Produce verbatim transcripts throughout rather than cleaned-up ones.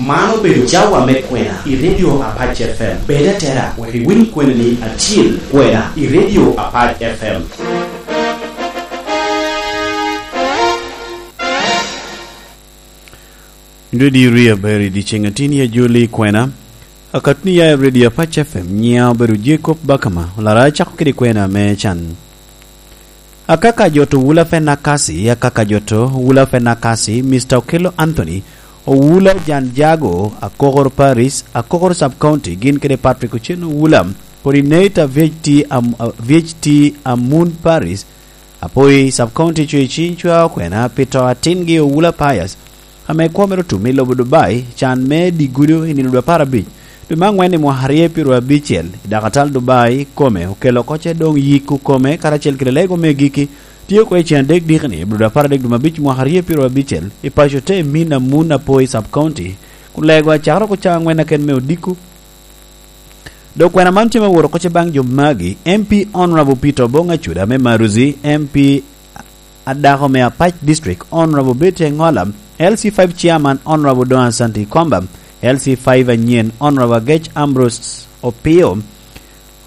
Man obedo cawa me kwena i Radio Apac F M. Bed atera wek iwiny kweni ni acil kwena i Radio Apac F M. Dwedi ri aber i dyeceŋ atin i ajoli kwena. Akatni ya i Radio Apac F M, nyiŋa obedo Jacob Bakama, olara acako kede kwena me can. Akaka joto Wula Fenakasi, akaka joto Wula Fenakasi, Mister Okello Anthony, Owula Jan Jago, Akokor Paris, Akokor Sub County, gin kede Patrick Ochen Owula, Coordinator V H T Am-, V H T Amun Paris, Apoi Sub County, Coicin Cwa Okwena, pi to atingi Owula Pius, ame kwo mere otum i lobo Dubai, can me dye gudo i nino dwe apar abic, dwe me angwen i mwaka aryo pyero abicel, i dakatal Dubai kome okelo oko ce doŋ yiko kome karacel kede lego me giki, tye oko i cen adek dikni, i dwe apar adek dwe me abic mwaka aryo pyero abicel, i paco te Mina Muna Poi Sub County, kun lego acakere oko ca angwen aken me odiko. Dok kwena man tye me woro oko ce baŋ jo magi, M P Honorable Peter Obong Acuda me Maruzi, M P adako me Apac District, Honorable Betty Engola, L C five Chairman, Honorable Don Asante Ikomba, L C five anyen, Honorable Agech Ambrose Opio,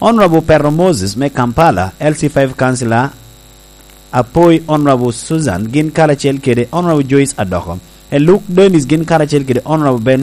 Honorable Pero Moses me Kampala, L C five Councillor Apoi, Honorable Susan, gin karacel kede Honorable Joyce Adoko, Eluk Dennis, gin karacel kede Honorable Ben